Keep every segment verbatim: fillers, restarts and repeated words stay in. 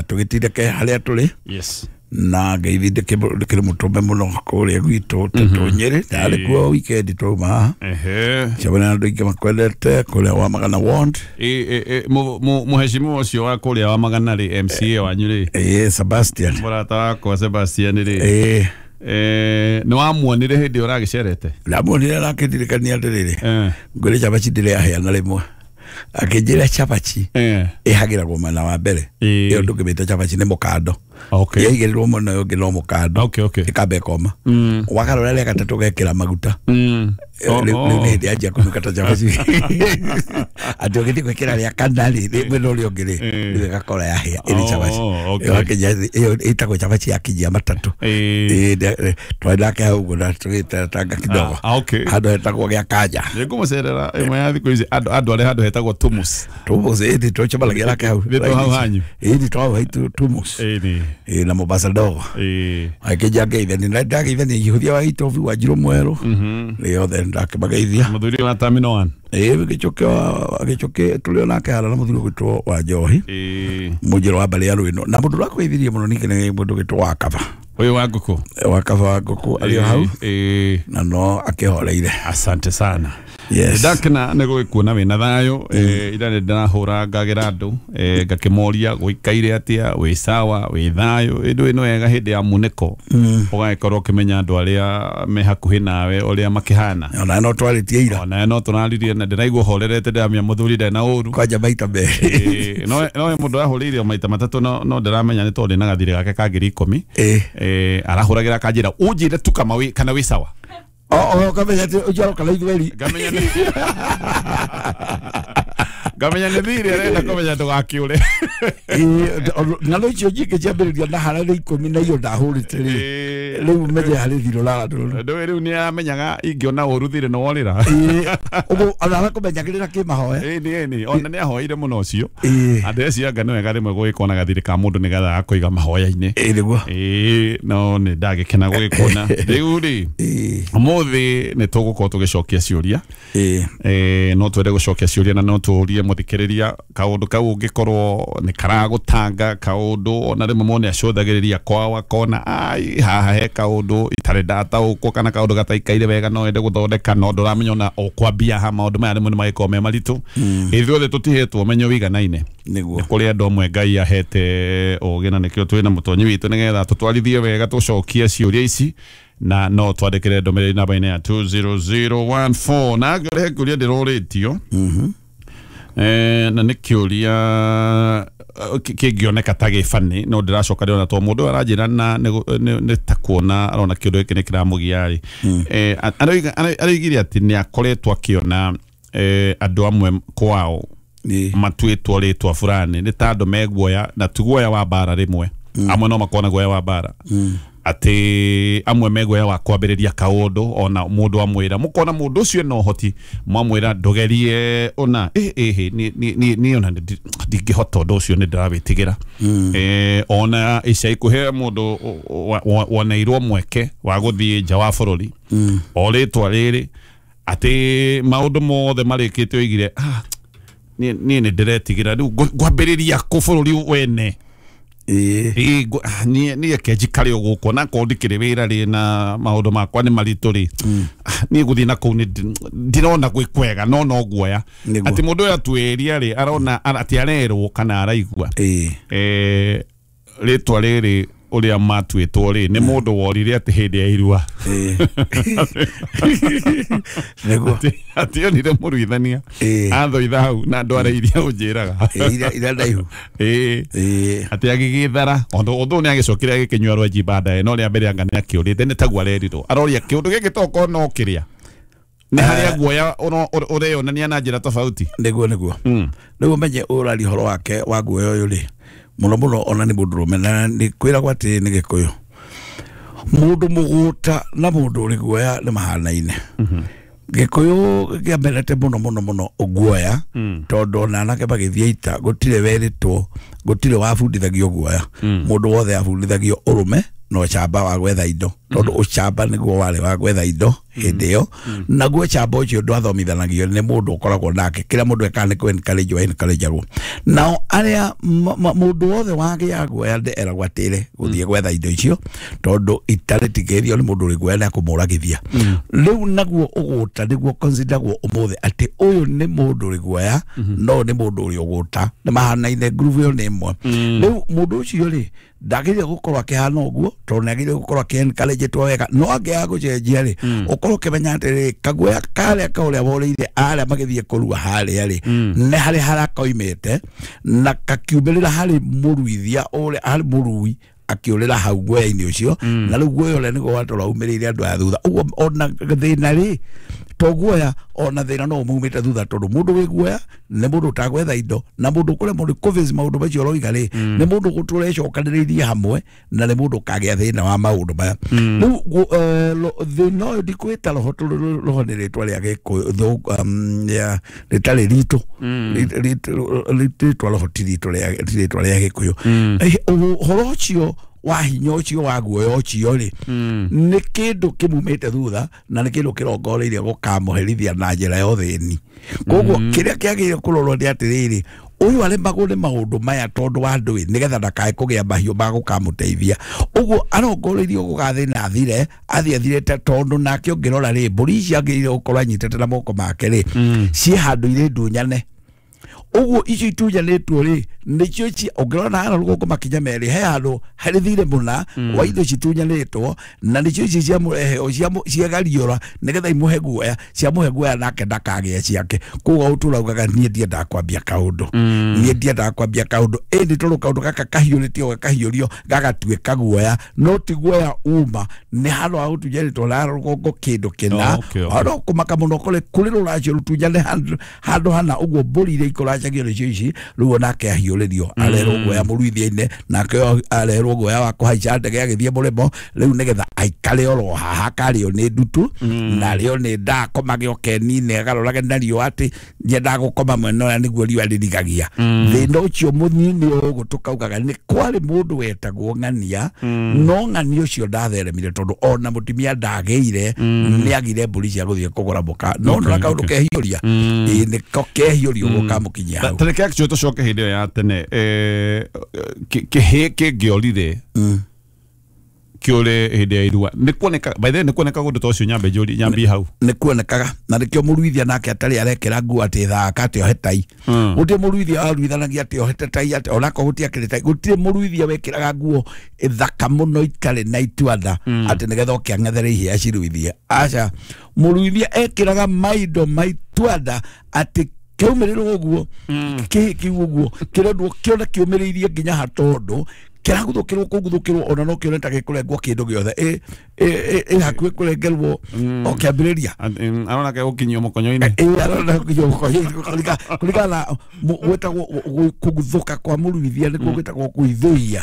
Nigetha tũgĩtindĩke harĩa tũrĩ. Yes. Na ngeithi ndĩkĩrĩ mũtũme mũno kũrĩa gwitũ Tetũ Nyĩrĩ, ndarĩ kuo weekend twauma haha. Ehe. Cemania na andũ aingĩ makwendete kũrĩa wa Magana Ward. Ĩ ĩ ĩ mũheshimiwa ũcio wa kũrĩa wa Magana rĩ, M C A wanyu rĩ. Ĩ Sebastian. Mũrata wakwa Sebastian rĩ. Ĩ. Eh, nĩ wamuonire hĩndĩ ĩyo ũragĩcerete? Ndamuonire na akĩndirikania atĩrĩrĩ, Eh. ngwĩre cabaci ndĩrĩ yahĩa na rĩmwe. Akĩnjĩra cabaci Eh. ĩhagĩragwo mwena wa mbere. Ĩ. Ĩyo ndũngĩmĩta cabaci nĩ mũkando. Okay. Yaigĩrĩrwo mwena ũyũ ũngĩ no mũkando. Okay, okay. Ĩkamba ĩkoma. Mm. Wagarũra rĩa gatatũ ũgekĩra maguta. Mm. Rĩu rĩu nĩ hĩndĩ yanjia kũnuka ta cabaci. Atĩ ũgĩthiĩ gwĩkĩra rĩa kana rĩ, rĩ mwena ũrĩa ũngĩ rĩ, Eh. rĩu ĩgakorwo yahĩa ĩrĩ cabaci. Oh, okay. Ĩyo akinya- ĩyo ĩtagwo cabaci ya kinyia matatũ. Ĩ. Ĩ, nde- twarĩ nake hau ũguo na tũgĩteretanga kidogo. Ah, okay. Handũ hetagwo gĩa Kanja. Nĩngũmũcerera ĩmwe ya thikũ ici, andũ andũ arĩa handũ hetagwo Tumus. Tumus, ĩĩ, tũcemanagia nake hau. Nĩ tũ hau hanyu. Ĩĩ, nĩ tũ hau haitũ Tumus. Ĩ, nĩ. Ĩ, na Mombasa ndogo. Ĩ. Akĩnja ngeithania, na ndageithania ihũthia wa Itobi wa Njirũ Mwerũ. Mhm. Rĩothe ndakĩmageithia. Mũthuri wa Terminal One. Ĩ, gĩchũke wa-, gĩchũke tũrĩ o nake harĩa na mũthuri ũgwĩtwo wa Njohi. Ĩ. Mũnjĩro wa mbarĩ ya Rwĩno. Na mũndũ ũrakũgeithirie mũno ningĩ nĩ mũndũ ũgwĩtwo wa Kaba. Ũyũ wa ngũkũ. Wa Kaba wa ngũkũ arĩ o hau. Ĩ. Na no akĩhoreire. Asante sana. Yes. Ndakena nĩ gũgĩkuona wĩna thayũ. Eh, ira nĩ ndĩrahũra ngagĩra andũ, eh, ngakĩmoria gũikaire atĩa, wĩ sawa, wĩ thayũ. Ĩndũ ĩno wega hĩndĩ ya munĩko. Mm. Ũgagĩkorwo ũkĩmenya andũ arĩa me hakuhĩ nawe ũrĩa makĩhana. Ona no twarĩtie ira. Ona no tũraririe na ndĩraigua horerete ndĩramenya mũthuri ndarĩ na ũru. Kwanja maita merĩ. Eh, no, no mũndũ ahũrĩire maita matatũ, no, no ndĩramenya nĩ tondũ ndĩna gathirĩ gake ka ngiri ikũmi. Eh. Eh, arahũragĩra akanjĩra, ũnjĩre tu kama wĩ, kana wĩ sawa. O, o, ngamenya atĩ ũcio aroka na ithweri. Ngamenya nĩ Ngamenya nĩ thirĩ arenda kũmenya ndũgakĩũre. Ĩ, ng'ano icio nyingĩ ciambĩrĩria na harĩa nĩ ikũmi na iyo ndahũrĩte rĩ. Ĩ. Rĩu menye harĩ thirĩ ũrarora. Ndũĩ rĩu nĩ aramenyaga ingĩona ũru thirĩ nĩ worĩra. Ĩ, ũguo ona arakũmenyagĩrĩra kĩmahoya. Ĩ, nĩ, nĩ, ona nĩ ahoeire mũno ũcio. Ĩ. Andũ acio anga nĩ wega rĩmwe gũgĩkorwo na gathirĩ ka mũndũ nĩgetha agakũiga mahoya-inĩ. Ĩ, nĩguo. Ĩ, no nĩ ndagĩkena gũgĩkuona. Rĩu rĩ, Ĩ. ũmũthĩ nĩ tũgũkorwo tũgĩcokia ciũria. Ĩ. Ĩ, no twende gũcokia ciũria na no tũrie mũthikĩrĩria kaũndũ kau ũngĩkorwo nĩ karagũtanga kaũndũ, ona rĩmwe mone acũthagĩrĩria kwao akona ai haha he kaũndũ itarĩ ndataũkwo kana kaũndũ gataikaire wega no ende gũthondeka no ndũramenya ona ũkwambia ha maũndũ maya rĩmwe nĩ magĩkorwo me maritũ. Mm. Ithuothe tũtihetwo ũmenyo wĩiganaine. Nĩguo. Nĩ kũrĩ andũ amwe Ngai ahete ũgĩ na nĩkĩo twĩna mũtonyi witũ nĩgetha tũtwarithie wega tũcokie ciũria ici na no twandĩkĩre ndũmĩrĩri namba-inĩ ya two zero zero one four. Na ngĩũria he kĩũria ndĩrorĩtio. Mhm. Eh, na nĩ kĩũria, eh, kĩngĩoneka ta gĩbani no ndĩracoka ndĩrona to mũndũ ũyũ aranjĩra na nĩ, nĩ ta kuona arona kĩũndũ gĩkĩ nĩ kĩramũgia rĩ. Mm. Eh, aroiga, aroigire atĩ nĩ akoretwo akĩona, eh, andũ amwe kwao Nĩ. matuĩtwo rĩtwa fulani nĩ ta andũ me guoya na ti guoya wa mbara rĩmwe. Mm. Amwe no makorwo na guoya wa mbara. Mm. Atĩ amwe me guoya wa kwambĩrĩria kaũndũ ona mũndũ amwĩra mũkona mũndũ ũcio ena ũhoti mwamwĩra ndũgerie ona ĩ, ĩ, ĩ, niĩ, niĩ, niĩ, niĩ ona ndi-, ndingĩhota ũndũ ũcio nĩ ndĩrawĩtigĩra. Mm. Eh, ona ica ikuhĩ mũndũ wa-, wa-, woneirwo mweke wa gũthiĩ nja wa bũrũri. Mm. O rĩtwa rĩrĩ atĩ maũndũ mothe marĩkĩte oigire, ah, niĩ, niĩ nĩ ndĩretigĩra rĩu ngũ-, ngwambĩrĩria kũ bũrũri wene. Ĩ. Ĩ, ngũ-, ah, niĩ, niĩ reke njikare o gũkũ, na korwo ndikĩrĩ wĩra rĩ na maũndũ makwa nĩ maritũ rĩ. Mm. Ah, niĩ gũthiĩ na kũu nĩ ndi-, ndirona gwĩ kwega, no no guoya. Nĩguo. Atĩ mũndũ ũyũ atuĩria rĩ, arona, ara-, atĩ arerwo kana araigua. Ĩ. Eh, rĩtwa rĩrĩ ũrĩa matuĩtwo rĩ, nĩ mũndũ worire atĩ hĩndĩ ya irua. Ĩ. Nĩguo. Atĩ, atĩ onire mũruithania. Ĩ. Athoitha hau na andũ arĩa iria ũnjĩraga. Ĩ, iria, iria ndaihu. Ĩ. Ĩ. Atĩ agĩgĩthara. Ũndũ, ũndũ ũyũ nĩ agĩcokire agĩkĩnyua rwenji baadaye, no rĩa mbere anga nĩ akĩũrĩte, nĩ taguo arerirwo. Aroria kĩũndũ gĩkĩ tokorwo no kĩrĩa. Nĩ harĩa Eh. guoya ũro-, ũro-, ũreyonania na njĩra tofauti. Nĩguo, nĩguo. Mm. Rĩu ũmenye ũraria ũhoro wake wa guoya ũyũ rĩ, mũno mũno ona nĩ mũndũrũme, na nĩ kwĩragwo atĩ nĩ Gĩkũyũ. Mũndũ mũgũta na mũndũ ũrĩ guoya nĩ mahanaine. Mhm. Gĩkũyũ kĩamenete mũno mũno mũno guoya, Mm. tondũ ona anake magĩthiĩ ita gũtirĩ werĩtwo, gũtirĩ wabundithagio guoya. Mm. Mũndũ wothe abundithagio ũrũme na ũcamba wa gwetha indo. Tondu ucamba niguo wari wa gwetha indo hindi iyo naguo chamba ucio ndwathomithanagio ni mundu ukoragwo nake kila mundu ekaga ni kũ encourage wa encourage-agwo. Nao aria mundu wothe wagĩa guoya eragwo atĩre gũthiĩ gwetha indo icio tondu itarĩtigĩrio nĩ mundu ũrĩ guoya nĩ akũmũragithia. Rĩu naguo ũgũta nĩguo consideragwo ũmũthĩ atĩ ũyũ nĩ mũndũ ũrĩ guoya no nĩ mũndũ ũrĩ ũgũta nĩ mahanaine groove ĩyo nĩ ĩmwe. Rĩu mũndũ ũcio rĩ ndagĩrĩire gũkorwo akĩhana ũguo tondũ nĩ agĩrĩire gũkorwo akĩ-encourage-two wega no angĩaga gũcenjia rĩ ũkorwo ũkĩmenya atĩrĩrĩ kaguoya karĩa ka ũrĩa worĩire arĩa magĩthiĩ kũrua harĩa rĩ nĩ harĩ harĩa koimĩte na kakiumĩrĩra harĩ mũruithia ũrĩa harĩ mũrui akiurira hau guoya-inĩ ũcio na rĩu guoya ũrĩa nĩguo watũra umĩrĩire andũ aya thutha. Ũguo ona thĩna rĩ to guoya ona thĩna no ũmaumĩte thutha tondũ mũndũ wĩ guoya nĩ mũndũ ũtagwetha indo na mũndũ ũkũremwo nĩ kũface maũndũ macio ũroiga rĩ nĩ mũndũ gũtũra ecokanĩrĩirie hamwe na nĩ mũndũ ũkagĩa thĩna wa maũndũ maya. Rĩu thĩna ũyũ ndikwĩta roho tondũ roho nĩ rĩtwa rĩa Gĩkũyũ rĩtarĩ ritũ rĩtwa roho ti rĩtwa rĩa Gĩkũyũ. Ũhoro ũcio wa hinya ũcio wa guoya ũcio rĩ nĩ kĩndũ kĩmumĩte thutha na nĩ kĩndũ kĩrongoreirie gũkamũherithia na njĩra ya ũthĩni. Koguo kĩrĩa kĩagĩrĩire kũrorwo nĩ atĩrĩrĩ ũyũ aremagwo nĩ maũndũ maya tondũ wa ndũĩ nĩgetha ndakae kũgĩa mahiũ ma gũkamũteithia. Ũguo arongoreirio gũgathĩna athire athiĩ athirĩte tondũ nake ũngĩrora rĩ mbũri ici agĩrĩire gũkorwo anyitĩte na moko make rĩ ciĩ handũ irĩ ndunyane. Ũguo icio itunyanĩtwo rĩ nĩcio ci ũngĩrora na rũgongo makinya merĩ he handũ harĩ thirĩ mũna wa indo citunyanĩtwo na nĩcio ici ciamũrehe ciagariũra nĩgetha imũhe guoya ciamũhe guoya nake ndakagĩa ciake. Koguo ũtũraugaga niĩ ndiendaga kwambia kaũndũ niĩ ndiendaga kwambia kaũndũ ĩndĩ tondũ kaũndũ gaka kahiũrĩtio gakahiũrio gagatuĩka guoya no ti guoya uma nĩ handũ ha gũtunyanĩtwo na rũgongo kĩndũ kĩna ona kũmaka mũno kũrĩ kũrĩ rũracio rũtunyane handũ hana ũguo mbũri iria ikũracagio nĩcio ici rĩu onake ahiũrĩrio arerwo guoya mũruithia-inĩ nake arerwo guoya wa kũhaica ndege agĩthiĩ mũrĩmo rĩu nĩgetha aikare oro haha akarĩo nĩ ndutu na arĩo nĩ nda akomage ũkeni-inĩ agarũrage na riũa atĩ nyendaga gũkoma mwena ũrĩa nĩguo riũa rĩrigagia. Thĩna ũcio mũnini ũguo tũkaugaga nĩ kwarĩ mũndũ wetagwo ng'ania no ng'ania ũcio ndatheremire tondũ ona mũtumia ndagĩire nĩagire mbũri cia gũthiĩ kũgũra mũka no nona kaũndũ kehiũria ĩĩ nĩko kehiũria ũguo kamũkinyia hau. Tareke actually tũcoke hĩndĩ ĩyo ya tene kĩhĩ kĩngĩorire kĩũre hĩndĩ ya irua nĩ kuoneka by the way nĩ kuoneka ũndũ ta ũcio nyambe njũrie nyambie hau nĩ kuonekaga na nĩkĩo mũruithia nake atarĩ arekĩra nguo atĩ thaka atĩ ohe tai. Gũtirĩ mũruithia waruithanagia atĩ ohete tai atĩ onako gũtiakĩrĩ tai gũtirĩ mũruithia wekĩraga nguo ĩthaka mũno itarĩ na ituanda atĩ nĩgetha oke ang'ethere ihĩa ciruithie. Aca mũruithia ekĩraga maindo ma ituanda atĩ kĩaumĩrĩrwo ũguo kĩhĩ kĩu ũguo kĩrendwo kĩona kĩũmĩrĩirie nginya ha tondũ kĩraguthũkĩrwo kũguthũkĩrwo ona no kĩone ta gĩkũrengwo kĩndũ gĩothe ĩ hakuhĩ kũrengerwo o kĩambĩrĩria arona ke gũkinyio mũkonyo-inĩ ĩ arona gũkinyio mũkonyo-inĩ kũringana na gwĩtagwo kũguthũka kwa mũruithia nĩkuo gwĩtagwo kũithũia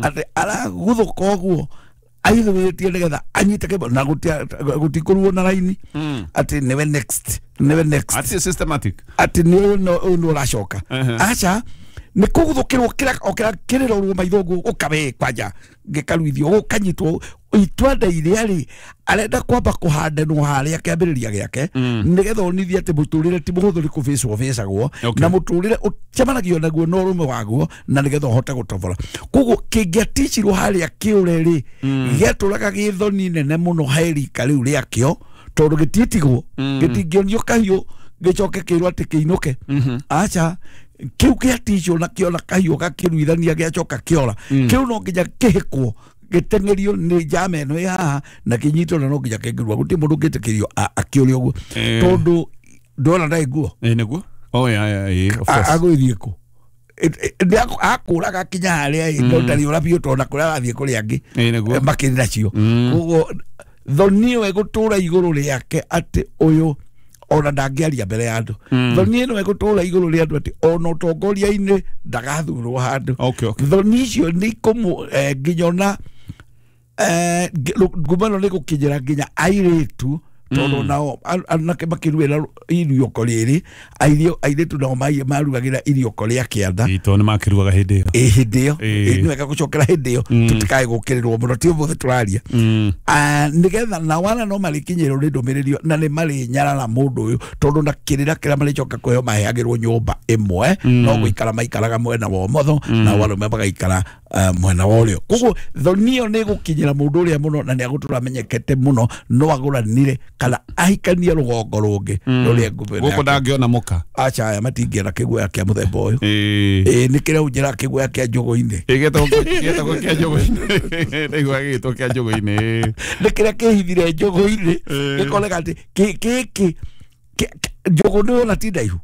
atĩ araguthũka ũguo aithũĩtie nĩgetha anyite kĩmwe na gũtikũruo na raini atĩ nĩwe next nĩwe next atĩ systematic atĩ nĩ ũyũ nĩ ũracoka aca nĩ kũguthũkĩrwo o kĩrĩa kĩrĩrorwo maitho ũguo ũkabe kwanja gĩkaruithio gũkanyitwo itwanda iria rĩ arenda kwamba kũhandanwo harĩa kĩambĩrĩria gĩake nĩgetha onithie atĩ mũtũrĩre ti mũhũthũ nĩ kũbĩcwo bĩcagwo na mũtũrĩre ũcemanagio naguo na ũrũme waguo na nĩgetha ũhote gũtobora. Koguo kĩngĩaticirwo harĩa kĩũre rĩ gĩatũraga gĩthoni nene mũno he rika rĩu rĩakĩo tondũ gĩtiĩtigwo gĩtingĩonio kahiũ gĩcoke kĩrwo atĩ kĩinũke aca kĩu kĩaticwo na kĩona kahiũ gakĩruithania gĩacoka kĩora kĩu no nginya kĩhĩkwo gĩteng'erio nĩ njama ĩno ĩ haha na kĩnyitwo na no nginya kĩngĩrua gũtirĩ mũndũ ũngĩtĩkĩrio akĩũria ũguo tondũ ndona ndarĩ nguo ĩ nĩguo oh yeah yeah of course agũthiĩ kũ akũraga kinya harĩa ĩ no ndarĩ ũra biũ tondũ kũrĩa arathiĩ kũrĩa angĩ makĩrĩ nacio. Koguo thoni ĩyo ĩgũtũra igũrũ rĩake atĩ ũyũ ona ndangĩaria mbere ya andũ thoni ĩno ĩgũtũra igũrũ rĩa andũ atĩ ona ũtongoria-inĩ ndagathurwo handũ. Thoni icio nĩ ikũmũ nginya ona ngumo ĩno nĩ gũkinyĩra nginya airĩtu tondũ nao anake makĩruĩra iriũko rĩrĩ airĩtu nao marugagĩra iriũko rĩa kĩanda tondũ nĩ makĩrugaga hĩndĩ ĩyo Ĩ hĩndĩ ĩyo nĩ wega gũcokera hĩndĩ ĩyo tũtikae gũkĩrĩrwo mũno ti ũmũthĩ tũraria nĩgetha na wana no marĩkinyĩrwo nĩ ndũmĩrĩri na nĩ marĩnyarara mũndũ ũyũ tondũ na kĩrĩra kĩrĩa marĩcoka kũheo maheagĩrwo nyũmba ĩmwe no gũikara maikaraga mwena wa ũmotho na arũme magaikara mwena wa ũrĩo. Koguo thoni ĩyo nĩ ĩgũkinyĩra mũndũ ũrĩa mũno na nĩ agũtũra amenyekete mũno no agũranire kana ahikanie rũgongo rũngĩ rũrĩa ngũbĩ gũkũ ndangĩona mũka. Aca aya matingĩona kĩguoya kĩa mũthemba ũyũ. Ĩ nĩ kĩrĩa ũnjĩra kĩguoya kĩa njũgũ-inĩ gĩtagwo kĩa njũgũ-inĩ ndaigua gĩgĩtwo kĩa njũgũ-inĩ nĩ kĩrĩa kĩhithire njũgũ-inĩ gĩkoneka atĩ gĩkĩ njũgũ nĩ ona ti ndaihu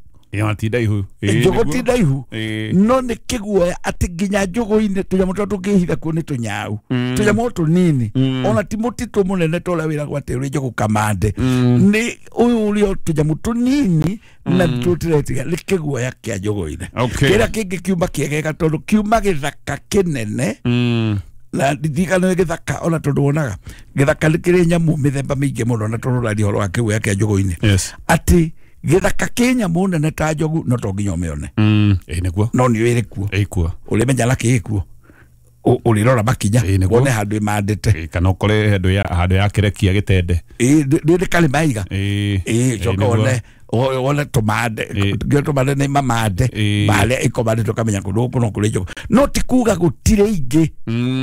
ti ndaihu njũgũ ti ndaihu no nĩ kĩguoya atĩ nginya njũgũ-inĩ tũnyamũ tũrĩa tũngĩhitha kuo nĩ tũnyau tũnyamũ tũnini ona ti mũtitũ mũnene ta ũrĩa wĩragwo atĩ ũrĩ njũgũ kamande nĩ ũyũ ũrĩa tũnyamũ tũnini na tũtiretiga nĩ kĩguoya kĩa njũgũ-inĩ. Kĩrĩa kĩngĩ kiuma kĩegega tondũ kiuma gĩthaka kĩnene na ndirikana nĩ gĩthaka ona tondũ wonaga gĩthaka nĩ kĩrĩ nyamũ mĩthemba mĩingĩ mũno na tondũ ũraria ũhoro wa kĩguoya kĩa njũgũ-inĩ atĩ gĩthaka kĩ nyamũ nene ta njogu no to nginya ũmĩone ĩ nĩguo no nĩ ĩrĩ kuo ĩkuo ũrĩmenya na kĩ ĩkuo ũrĩrora makinya wone handũ ĩmandĩte kana ũkore handũ ya handũ ya kĩrekia gĩtende ĩ nĩ karĩ maiga ĩ coka wone wone tũmande nginya tũmande nĩ mamande marĩa ĩkomandĩte ũkamenya kũndũ gũkũ no kũrĩ njogu no ti kuga gũtirĩ ingĩ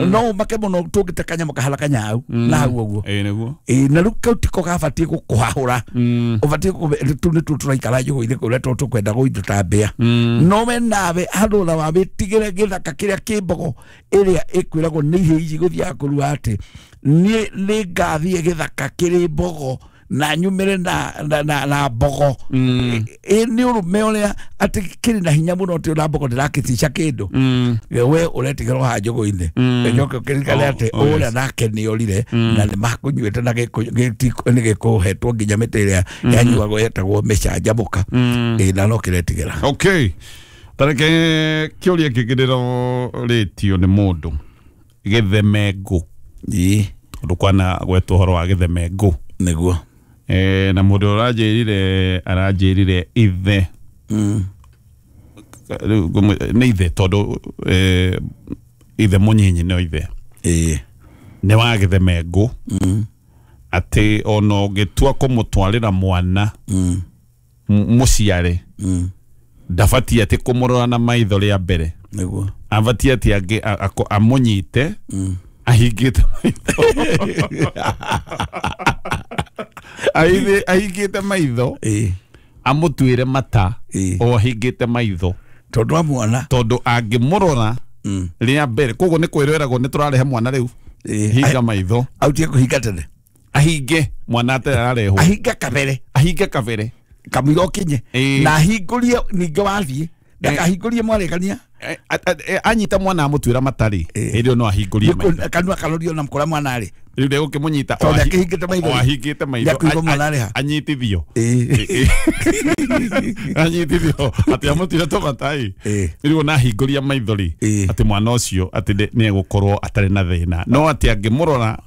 no ũmake mũno tũngĩte kanyamũ kahana kanyau na hau ũguo ĩ nĩguo ĩ na rĩu kau tiko gabatiĩ gũkũhahũra ũbatiĩ tũ nĩ tũraikara njũgũ-inĩ kũrĩa tondũ tũkwenda gũitũ mbĩa no we nawe handũ ona wamĩtigĩre gĩthaka kĩrĩa kĩ mbogo ĩrĩa ĩkwĩragwo nĩ ihĩĩ ici gũthiaga kũrua atĩ niĩ nĩ ngathiĩ gĩthaka kĩrĩ mbogo na nyumire na na na, na mbogo ĩ nĩ ũrũme ũrĩa atĩ kĩrĩ na hinya mũno atĩ ona mbogo ndĩrakĩtica kĩndũ we ũretigĩrwo haha njũgũ-inĩ njoke ũkĩririkane atĩ ũrĩa nake nĩ orire na nĩ makũnyuĩte na nĩ gĩkũhetwo nginya mĩtĩ ĩrĩa yanyuagwo yetagwo mĩcanjamũka ĩ na no kĩretigĩra. Okay, tareke kĩũria kĩngĩ ndĩrorĩtio nĩ mũndũ gĩthemengũ ĩ tondũ kwana gwetwo ũhoro wa gĩthemengũ nĩguo eh na mũndũ ũranjĩrire aranjĩrire ithe nĩ ithe tondũ ithe mũnyinyi no ithe ĩ nĩ wa gĩthemengũ atĩ ona ũngĩtua kũmũtwarĩra mwana mũciare ndabatiĩ atĩ kũmũrora na maitho rĩa mbere nĩguo abatiĩ atĩ amũnyite ahingĩte maitho ahingĩte maitho amũtuĩre mata o ahingĩte maitho tondũ wa mwana tondũ angĩmũrora rĩa mbere koguo nĩ kwĩreragwo nĩ tũrarehe mwana rĩu hinga maitho autie kũhinga tene ahinge mwana atarĩ ararehwo ahinge kabere ahinge kabere kamũira ũkinye na ahingũrie ningĩ wathiĩ ndakahingũrie mwarĩkania anyita mwana amũtuĩra matarĩ hĩndĩ ĩyo no ahingũrie maitho kanua karorio na kũrĩa mwana arĩ rĩu ndegũkĩmũnyita tondũ akĩhingĩte maitho o ahingĩte maitho anyitithio anyitithio atĩ amũtuĩre tũmatai rĩu ona ahingũria maitho rĩ atĩ mwana ũcio atĩ nĩ egũkorwo atarĩ na thĩna no atĩ angĩmũrora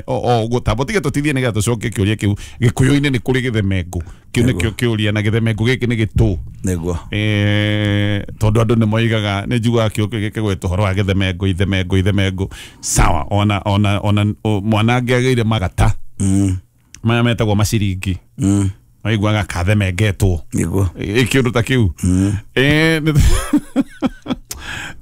o ũguo tamba tige tũtithie nĩgetha tũcokie kĩũria kĩu gĩkũyũ-inĩ nĩ kũrĩ gĩthemengũ kĩu nĩkĩo kĩũria na gĩthemengũ gĩkĩ nĩ gĩtũ nĩguo tondũ andũ nĩ moigaga nĩ njugaga kĩo gĩkĩgwetwo ũhoro wa gĩthemengũ ithemengũ ithemengũ sawa ona ona ona mwana angĩagĩire magata maya metagwo maciringi maiguaga kathemengetwo nĩguo kĩũndũ ta kĩu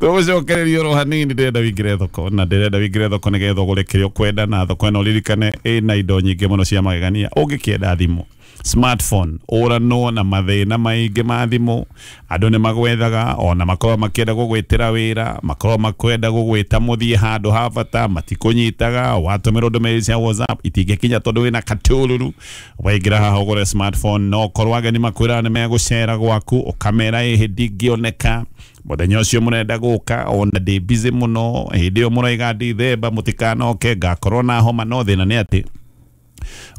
tũgũcokereria oro hanini ndĩrenda wĩingĩre thoko na ndĩrenda wĩingĩre thoko nĩgetha ũgũre kĩrĩa ũkwenda na thoko ĩno ũririkane ĩna indo nyingĩ mũno cia magegania ũngĩkĩenda thimũ smartphone ũranwo na mathĩna maingĩ ma thimũ andũ nĩ magwethaga ona makorwo makĩenda gũgwĩtĩra wĩra makorwo makwenda gũgwĩta mũthiĩ handũ ha bata matikũnyitaga watũmĩrwo ndũmĩrĩri cia WhatsApp itingĩkinya tondũ wĩna katũrũrũ waingĩra haha ũgũre smartphone no korwo ageni makwĩra nĩ megũcera gwaku ũkamera ĩhĩ ndingĩoneka mũthenya ũcio mũrenda gũka ona ndĩ busy mũno hĩndĩ ĩyo mũroiga ndithemba mũtikanoke ngakorwo na homa no thĩna nĩ atĩ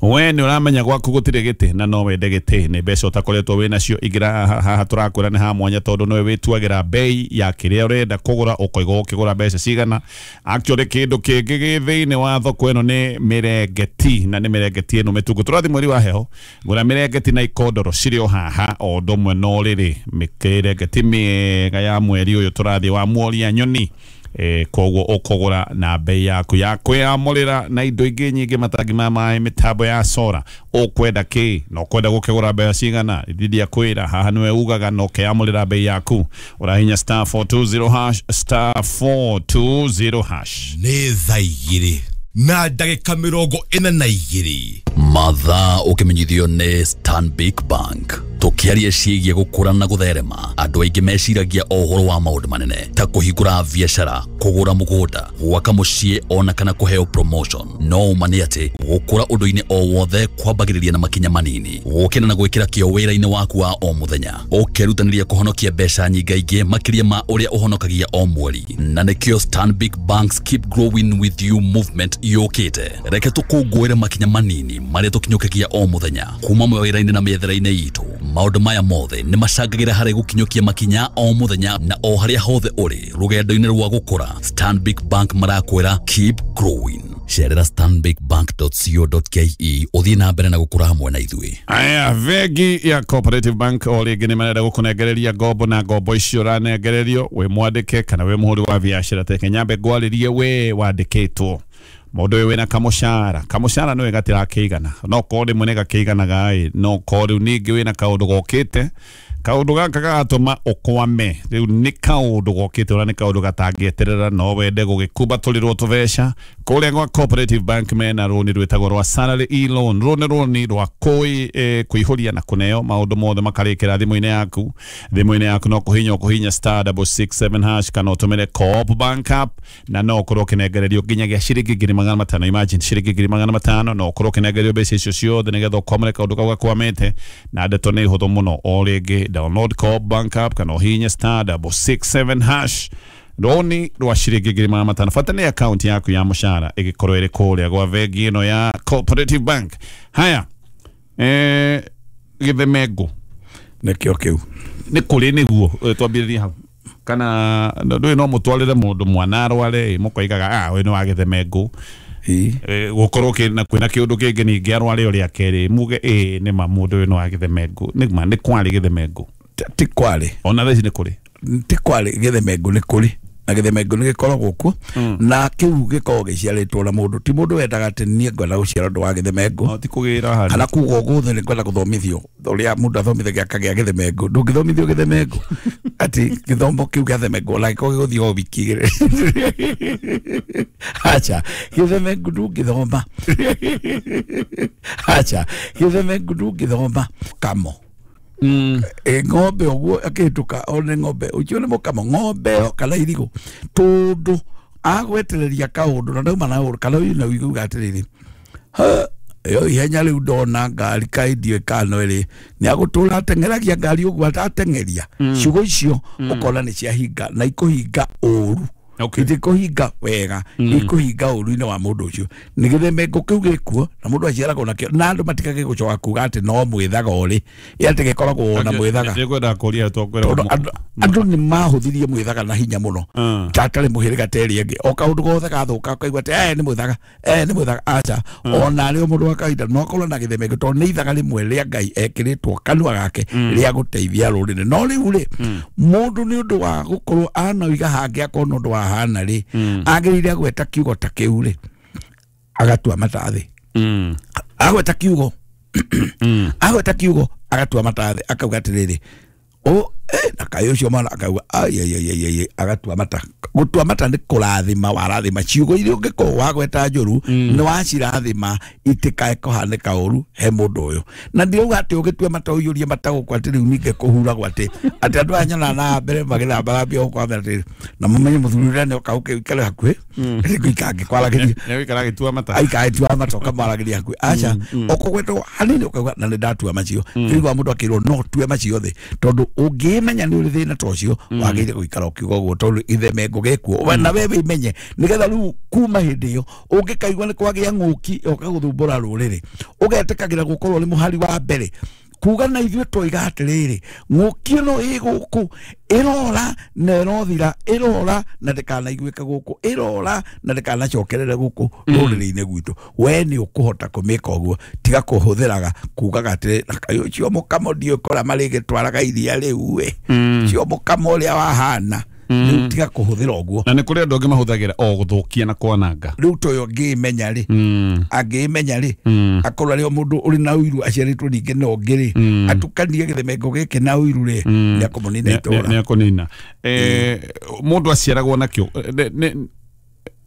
We nĩ ũramenya gwaku gũtirĩ gĩtĩ na no wende gĩtĩ, nĩ mbeca ũtakoretwo wĩ nacio, ingĩra haha tũrakwĩra nĩ ha mwanya tondũ nĩwe wĩtuagĩra bei ya kĩrĩa ũrenda kũgũra, ũkoiga ũkĩgũra mbeca cigana. Actually kĩndũ kĩngĩ gĩ thĩinĩ wa thoko ĩno nĩ mĩrengeti, na nĩ mĩrengeti ĩno mĩtungu. Tũrathiĩ mweri wa heho, gũra mĩrengeti na ikondoro cirĩ o haha o ũndũ ũmwe na ũrĩrĩ, mĩrengeti mĩega ya mweri ũyũ tũrathiĩ wa Muoria Nyoni. E, koguo ũkũgũra na bei yaku ya kwĩyamũrĩra na indo ingĩ nyingĩ, matangi ma maĩ, mĩtambo ya sora. Ũkwenda kĩ na ũkwenda gũkĩgũra mbeca cigana, ndindia kwĩra haha nĩwe ugaga na ũkeyamũrĩra bei yaku. Ũrahinya star four two zero hash, star four two zero hash. Nĩ thaa igĩrĩ na ndagĩka mĩrongo ĩna na igĩrĩ. Mathaa ũkĩmenyithio nĩ Stanbic Bank. Tũkĩaria ciĩgiĩ gũkũra na gũtherema, andũ aingĩ meciragia o ũhoro wa maũndũ manene ta kũhingũra biacara, kũgũra mũgũnda, gwaka mũciĩ ona kana kũheo promotion. No ũma nĩ atĩ gũkũra ũndũ-inĩ o wothe kwambagĩrĩria na makinya manini, gũkĩra na gwĩkĩra kĩo wĩra-inĩ waku wa o mũthenya, ũkerutanĩria kũhonokia mbeca nyingaingĩ makĩria ma ũrĩa ũhonokagia o mweri. Na nĩkĩo Stanbic Bank's Keep Growing With You movement yũkĩte. Reke tũkũngũĩre makinya manini marĩa tũkinyũkagia o mũthenya kuma mawĩra-inĩ na mĩethere-inĩ itũ. Maũndũ maya mothe nĩ macangagĩra harĩ gũkinyũkia makinya o mũthenya na o harĩa hothe ũrĩ rũgendo-inĩ rwa gũkũra. Stanbic Bank marakwĩra keep growing. Cerera stanbic bank dot co dot ke ũthiĩ na mbere na gũkũra hamwe na ithuĩ. Aya, bengi ya Cooperative Bank o rĩngĩ nĩ marenda gũkũnengereria ngombo, na ngombo icio ũranengererio wĩ mwandĩke kana wĩ mũhũri wa biacara. Teke nyambe ngwarĩrie we wandĩkĩtwo mũndũ ũyũ wĩna kamũcara, kamũcara nĩwe gatirakĩigana, no korwo rĩmwe nĩ gakĩiganaga ĩ, no korwo rĩu ningĩ wĩna kaũndũ gokĩte, kaũndũ gaka gagatũma ũkwame. Rĩu nĩ kaũndũ gokĩte ũrĩa nĩ kaũndũ gatangĩeterera, no wende gũgĩkumbatũrĩrwo tũbeca. Kũrĩa gwa Cooperative Bank mena rũni rwĩtagwo rwa salary e-loan. Rũni rũni rwa kũi eh, kũihũria na kũneo maũndũ mothe makarĩkĩra thimũ-inĩ yaku. Thimũ-inĩ yaku no kũhinya ũkũhinya star double six seven hash kana ũtũmĩre Co-op Bank app, na no ũkorwo ũkĩnengererio nginyagia ciringi ngiri magana matano. Imagine ciringi ngiri magana matano, no ũkorwo ũkĩnengererio mbeca icio ciothe nĩgetha ũkwamũre kaũndũ kau gakwamĩte. Na ndeto nĩ hũthũ mũno, o rĩngĩ download Co-op Bank app kana ũhihinye star double six seven hash. Rũni rwa ciringi ngiri magana matano, bata nĩ akaunti yaku ya mũcara ĩgĩkorwo ĩrĩ kũrĩa gwa bengi ĩno ya Cooperative Bank. Haya, eh, gĩthemengũ nĩkĩo kĩu nĩ kũrĩ nĩguo twambĩrĩrie hau, kana ndũĩ no mũtwarĩre mũndũ mwana arware mũkoigaga ah ũyũ nĩ wa gĩthemengũ, gũkorwo kwĩna kĩũndũ kĩngĩ ningĩ arware ũrĩa kerĩ muge ĩ nĩ ma mũndũ ũyũ nĩ wa gĩthemengũ. Nĩ ma nĩ kwarĩ gĩthemengũ? Ti kwarĩ, ona thaa ici nĩ kũrĩ. Ti kwarĩ gĩthemengũ, nĩ kũrĩ na gĩthemengũ nĩ gĩkoragwo kuo, na kĩu gĩkoragwo gĩciarĩtwo na mũndũ. Ti mũndũ wendaga atĩ niĩ ngwenda gũciara ũndũ wa gĩthemengũ, ti kũgĩra handũ kana kuga ũguo nĩ ngwenda gũthomithio ũrĩa mũndũ athomithagia akagĩa gĩthemengũ. Ndũngĩthomithio gĩthemengũ atĩ gĩthomo kĩu gĩa themengũ ona gĩkorwo gĩgũthiĩ o wiki igĩrĩ. Acha, gĩthemengũ ndũngĩthoma. Acha, gĩthemengũ ndũngĩthoma. Kamo Mm. E, ng'ombe ũguo akĩhĩtũka one ng'ombe ũcio nĩ mũkamo, ng'ombe ĩyo kana irigũ, tondũ agwetereria kaũndũ na ndauma na ũru kana ũyũ na ũiguaga atĩrĩrĩ, ĩyo ihenya rĩu ndona ngari kaĩ ndiũĩ kana ĩrĩ nĩ agũtũra ateng'eragia ngari ũguo atateng'eria. Ciugo icio ũkona nĩ ciahinga na ikũhinga ũru, itikũhinga wega, ikũhinga ũru-inĩ wa mũndũ ũcio. Nĩ gĩthemengũ kĩu gĩkuo na mũndũ aciaragwo nakĩo, na andũ matikage gũcoka kuga atĩ no mwĩthaga ũrĩ, ĩ atĩ gĩkoragwo na mwĩthaga. Tondũ andũ nĩ mahũthirie mwĩthaga na hinya mũno, ta atarĩ mũhĩrĩga ta ĩrĩa ĩngĩ. O kaũndũ gothe gathũka ũkaigua atĩ eh nĩ mwĩthaga, eh nĩ mwĩthaga. Aca, ona rĩo mũndũ wa kawaida no akorwo na gĩthemengũ tondũ nĩ ithaga rĩmwe rĩa Ngai ekĩrĩtwo kanua gake rĩa gũteithia rũrĩrĩ. No rĩu rĩ, mũndũ nĩ ũndũ wa gũkorwo anoiga hangĩ akorwo nĩ ũndũ wa hana rĩ, agĩrĩire gweta kiugo ta kĩu rĩ, agatua mata thĩ. Agweta kiugo, agweta kiugo agatua mata thĩ, akauga atĩrĩrĩ, o eh na kaĩ ũcio mwana akauga ai ai ai ai, agatua mata. Gũtua mata nĩ kũrathima warathima ciugo iria ũngĩkorwo wagweta njũru, nĩ wacirathima itikae kũhanĩka ũru he mũndũ ũyũ. Na ndirauga atĩ ũgĩtua mata ũiyũrie mata gũkũ atĩ rĩu ningĩ kũhuragwo atĩ atĩ andũ aya nyonaga na mbere magĩthambathambia gũkũ ambere atĩrĩrĩ, na mũmenye mũthuri ũrĩa nĩoka ũkĩikare hakuhĩ nĩngũikara ngĩkwaragĩria, nĩgũikara agĩtua mata, aikara agĩtua mata ũkamwaragĩria hakuhĩ. Aca, ũkũgwetwo hanini ũkauga na nĩ ndatua macio. Rĩu mũndũ akĩrwo no tue macio thĩ, tondũ ũngĩ Ũngĩmenya nĩ ũrĩ thĩna ta ũcio, wagĩrĩire gũikara ũkiuga ũguo tondũ gĩthemengo gĩkuo na we wĩmenye, nĩgetha rĩu kuma hĩndĩ ĩyo ũngĩkaigua nĩ kwagĩa ng'ũki yoka gũthumbũra rũrĩrĩ, ũgetĩkagĩra gũkorwo nĩ mũhari wa mbere kuga na ithuĩ twoiga atĩrĩrĩ, ng'ũki ĩno ĩ gũkũ ĩrora na ĩrothira, ĩrora na ndĩkanaiguĩke gũkũ, ĩrora na ndĩkanacokerere gũkũ rũrĩrĩ-inĩ gwitũ. We nĩ ũkũhota kũmĩka ũguo, tiga kũhũthĩraga kugaga atĩrĩ, na kaĩ ũcio mũkamo ndiũĩ kũrĩa marĩgĩtwaraga iria rĩu ĩ, ũcio mũkamo ũrĩa wahana. Rĩu tiga kũhũthĩra ũguo. Na nĩ kũrĩ andũ angĩ mahũthagĩra o gũthũkia na kwananga. Rĩu ta ũyũ angĩĩmenya rĩ, angĩĩmenya rĩ, akorwo arĩ o mũndũ ũrĩ na ũiru aciarĩtwo ningĩ na ũngĩ rĩ, atukanie gĩthemengo gĩkĩ na ũiru rĩ, nĩ akũmũnina itũra. Nĩ akũnina. Mũndũ aciaragwo nakĩo.